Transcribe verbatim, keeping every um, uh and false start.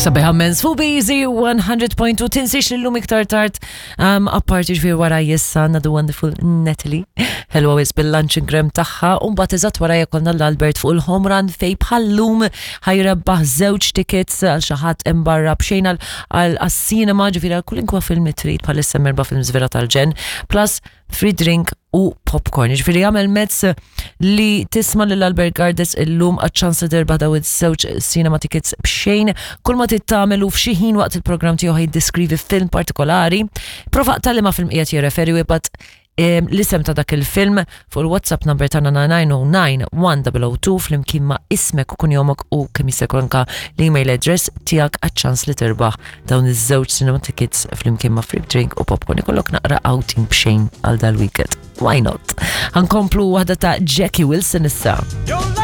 Sabiħa mens fuq Easy one hundred point two. Tinsiex li llum iktar tard, um, apparti ġifieri wara jissa għandna the wonderful Natalie Hello is bil-lunch gram tagħha, u mbagħad eżatt wara jkollna l-Albert fuq il-home run, fejn bħal-lum ħa jrebbaħ żewġ tickets għal xi ħadd imbarra b'xejn għal cinema, ġifieri għal kwalunkwe film trid. Bħalissa erba' films vera tal-ġenn, plus free drink u popcorn. Ġifieri għamel mezz li tisma' lil Albert Gardes illum għaċ-ċans terbaħ daw iż-żewġ cinema tickets b'xejn. Kull ma trid tagħmel u f'xi ħin waqt il-programm tiegħu jiddeskrivi film partikolari. Prova tal ma film qiegħed jirreferi u ibgħat em, l-isem ta' dak il-film fuq il-WhatsApp number tagħna nine nine zero nine one zero zero two flimkien ma' ismek u kunjomok u kemm jista' jkun anka l-email address tiegħek, għaċ-ċans li terbaħ dawn iż-żewġ cinema tickets flimkien ma' free drink u popcorn. Ikollok naqra outing b'xejn għal dal-weekend. Why not? Ħa nkomplu waħda ta' Jackie Wilson issa. Your